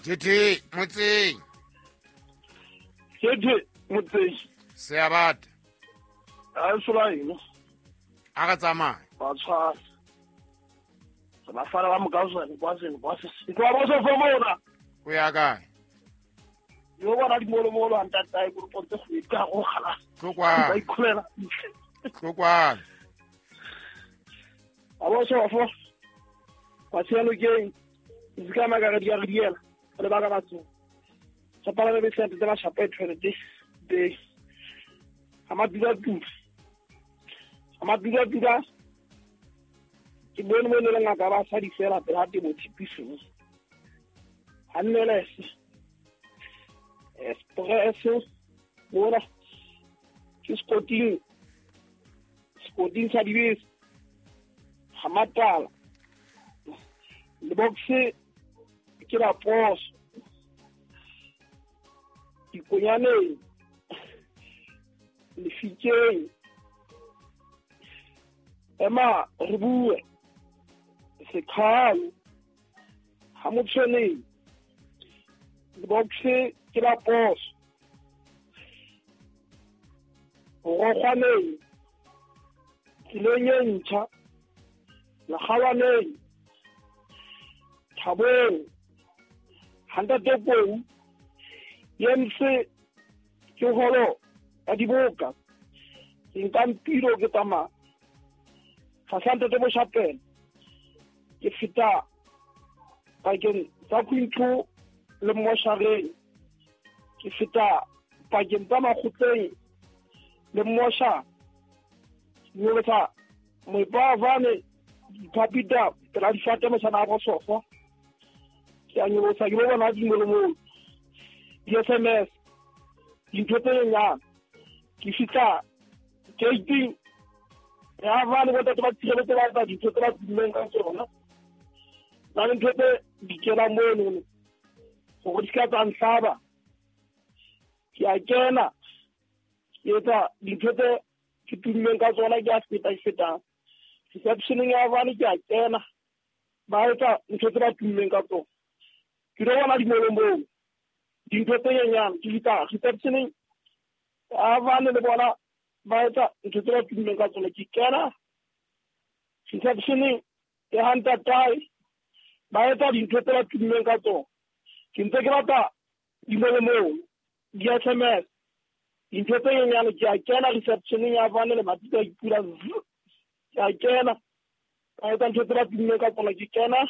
Tete motseng. Tete motseng. Seabata. A sola eno. A re tsamaye. Ba tshwara. Re ba fana ba mokauswane kwa seno kwa se. Ke ba so fo mona. O ya kae? Yo bona dimolomolo a ntatae ko pontse go ka go gala. Tlo kwano. Ba ikhulela. Tlo kwano. A bo so fo. Kwa tselo ke se ka maka re di re diela. Re ba ka batho. Sa pala be se ba shapa toilet be. Ama dula dula. Ama dula dula. Ke bone mo le ngaka ba sa di fela pela te mo tshipiso. Hanneles. Espresso. Mona. Ke skoting. Skoting sa dibese. Ga matala. Le boxe ke la poso. Dikonyaneng. Lefikeng. Ema re bue. Sekhalo. Ga motshweneng. Le boxe ke la poso. Rogwaneng. Tseleng e ntšha. Legawaneng. Thabong. Hantate Kou. Yemse ke holo ya diboka. Ke nka mpilo ke tsamaya. Ga sa ntate Moshapela. Ke feta pakeng tsa Quinto le Moshareng. Ke feta pakeng tsa Makgotleng le Mosha. Nyolosa moipavane dipapita pela difate moshana a bosofa. Ke a nyolosa ke bo bona dimolomolo. Di-SMS dintho tse nyenyane. Ke fihla gating ya bane bo tate ba tshireletso ba etsa dintho tse ba tummeng ka tsona. Na le ntho tse di kenang mono gore di ska tsa nhlaba. Ke a kena ke etsa dintho tse ke tummeng ka tsona, ke a feta ke fetang. Receptioneng ya bane ke a kena ba etsa ntho tse ba tummeng ka tsona. Ke lo bona dimolomong dintho tse nyenyane. Ke fihla receptioneng ya bane le bona ba etsa ntho tse ba tummeng ka tsona. Ke kena receptioneng ya ha ntatae ba etsa dintho tse ba tummeng ka tsona. Ke ntse ke batla dimolomong di-SMS dintho tse nyenyane. Ke a kena receptioneng ya bane le matita a ipula. Ke a kena ba etsa ntho tse ba tummeng ka tsona. Ke kena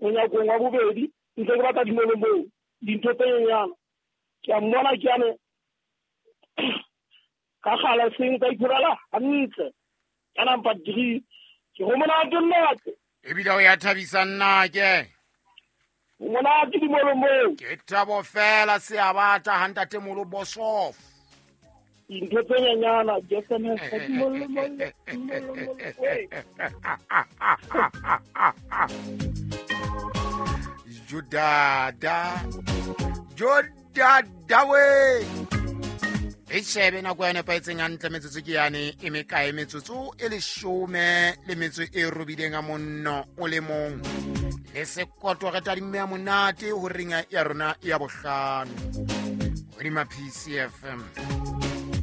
monyakong wa bobedi ntse ke batla dimolomong dintho tse nyenyane. Ke a mmona ke ane ka gala seng ka iphurela hantle ka number 3. Ke go monate nnate. Ebile o ya thabisa nna ke. O monate dimolomong. Ke thabo fela seabata ha ntate Molo Bosof. Dintho tse nyenyana di SMS dimolomong. Judada. Judada we. E shebe nako ya nepahetseng hantle metsotso ke yane e mekae metsotso e 18 le metso e robileng a monno o le mong. Le sekoto re tadimme ya monate ho ringa ya rona ya bohlano. Hodima PCFM.